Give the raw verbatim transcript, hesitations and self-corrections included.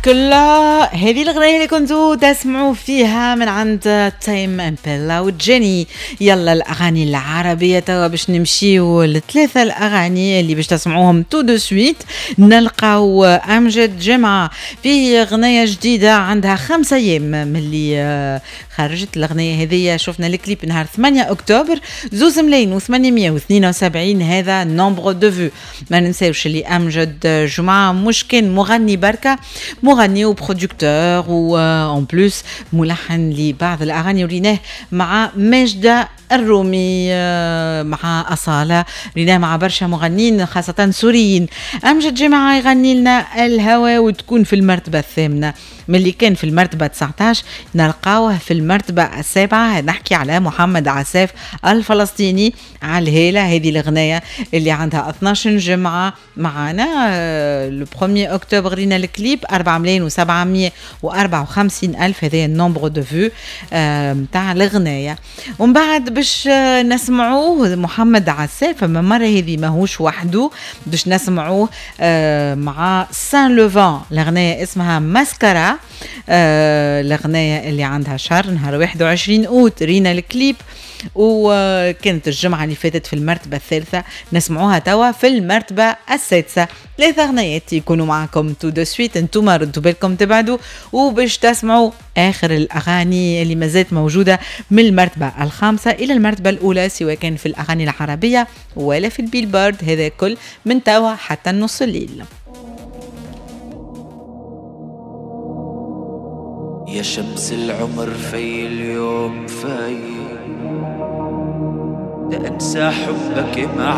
كلها هذه الغنية اللي كنتوا تسمعوا فيها من عند تايم امبيلا وجيني. يلا الاغاني العربية توا باش نمشيو لثلاثة الاغاني اللي باش تسمعوهم tout de suite. نلقاو امجد جمعة في غنية جديدة عندها خمسة ايام من اللي خرجت الاغنية هذه، شفنا الكليب نهار ثمانية اكتوبر، زوز ملايين وثمانمية واثنين وسبعين هذا nombre de vues. ما ننساوش اللي امجد جمعة مش كان مغني بركة، مغني و producteur و en plus ملحن لبعض الاغاني، وريناه مع ماجدة الرومي، مع أصالة، ريناه مع برشا مغنيين خاصة سوريين. أمجد جمعة يغني لنا الهوى وتكون في المرتبة الثامنة، من اللي كان في المرتبة تسعتاش نلقاوه في المرتبة السابعة. نحكي على محمد عساف الفلسطيني على الهالة، هذه الغناية اللي عندها اثناش جمعة معنا. le premier octobre رينا الكليب أربعة ملايين وسبعمية وأربعة وخمسين ألف، هذا ال nombre de vues نتاع الغناية. ومن بعد باش نسمعوه محمد عساف، أما مرة هذه ماهوش وحده، باش نسمعوه مع سان لوفان، الغناية اسمها ماسكارا، الغناية اللي عندها شهر نهار واحد وعشرين أوت رينا الكليب، وكانت الجمعة اللي فاتت في المرتبة الثالثة، نسمعوها توا في المرتبة السادسة. ثلاثة غنايات يكونوا معكم tout de suite، انتوما ردوا بالكم تبعدوا وباش تسمعوا آخر الأغاني اللي مازالت موجودة من المرتبة الخامسة إلى المرتبة الأولى، سواء كان في الأغاني العربية ولا في البيلبورد، هذا كل من توا حتى نص الليل. يا شمس العمر في اليوم في لأنسى حبك مع